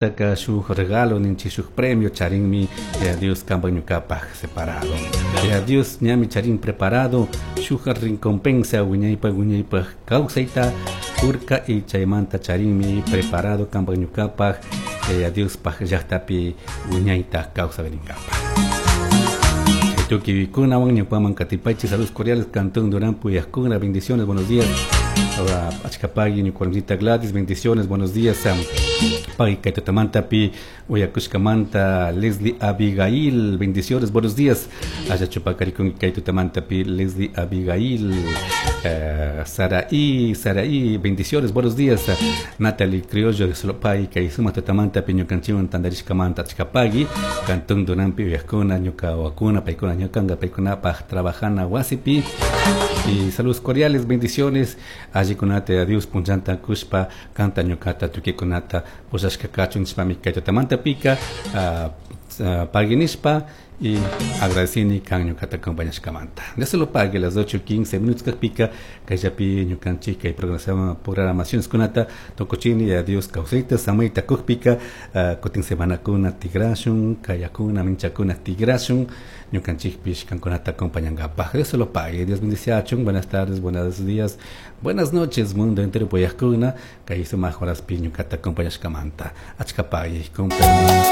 Taka shuk regalo ninchik shuk premio charinmi Yaya Dios kanpak ñukapak separado. Yaya Dios ñami charin preparado shuk recompensa wiñaypak wiñaypak kawsayta kurka y chaymanta charinmi preparado kanpak ñukapak Yaya Diospaj llaktapi wiñayta kawsarinkapa. Tuquikunawan ñupaman katipaychik saludos cordiales Cantón Durán Puyascuna, bendiciones, buenos días. Achkapagui ñukuarmita Gladys, bendiciones, buenos días. Pagui kaytutamantapi uyakushkamanta Leslie Abigail, bendiciones, buenos días. Allachupakarikunki kaytutamantapi Leslie Abigail, Saraí, Saraí, bendiciones, buenos días. Natalie Criollo, Slopay, kay sumaq tutamantapi ñukanchikwan tantarishkamanta achkapagui, Cantón Duranpi uyakuna, ñuka wakuna, paykuna ñukanka, paykunapaj trabajana wasipi. Y saludos cordiales, bendiciones. Allikunata Dios punchanta kushpa kanta ñukata tukikunata pushashka kachun nishpami kay tutamantapika pagui nishpa y agradecini kan ñukata acompañashkamanta. Dios se lo pague las 8:15 minutos kakpika kayllapi ñukanchik kay programaciones kunata tukuchini ya Dios kawsayta samayta kukpika kutin semanakuna tigrashun kayakuna minchakuna tigrashun ñukanchikpish kankunata acompañankapaj. Dios se lo pague. Dios bendiciachun. Buenas tardes, buenos días, buenas noches, mundo entero puyajkuna kay sumaq horaspi ñukata acompañashkamanta. Achkapagui, con permiso.